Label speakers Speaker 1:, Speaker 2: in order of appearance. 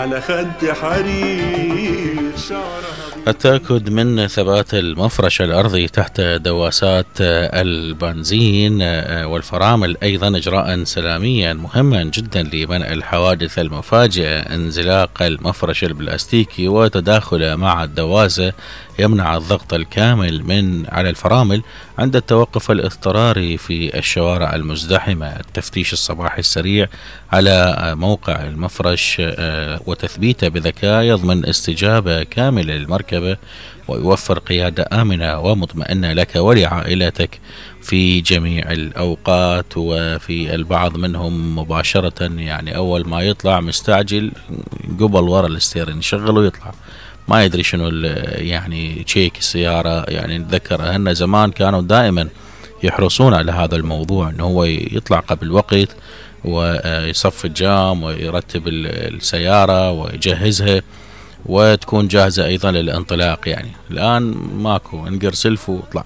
Speaker 1: على خد حرير شعرها.
Speaker 2: التأكد من ثبات المفرش الأرضي تحت دواسات البنزين والفرامل أيضا إجراء سلاميا مهما جدا لمنع الحوادث المفاجئة. انزلاق المفرش البلاستيكي وتداخله مع الدواسة يمنع الضغط الكامل من على الفرامل عند التوقف الاضطراري في الشوارع المزدحمة. التفتيش الصباحي السريع على موقع المفرش وتثبيته بذكاء يضمن استجابة كاملة للمركبة ويوفر قيادة آمنة ومطمئنة لك ولعائلتك في جميع الأوقات. وفي البعض منهم مباشرة يعني أول ما يطلع مستعجل قبل ورا الستيرن يشغل ويطلع، ما يدري شنو يعني تشيك السيارة. يعني نتذكر أهلنا زمان كانوا دائما يحرصون على هذا الموضوع، أنه هو يطلع قبل وقت ويصف الجام ويرتب السيارة ويجهزها وتكون جاهزة أيضا للانطلاق. يعني الآن ماكو، انقر سلف واطلع.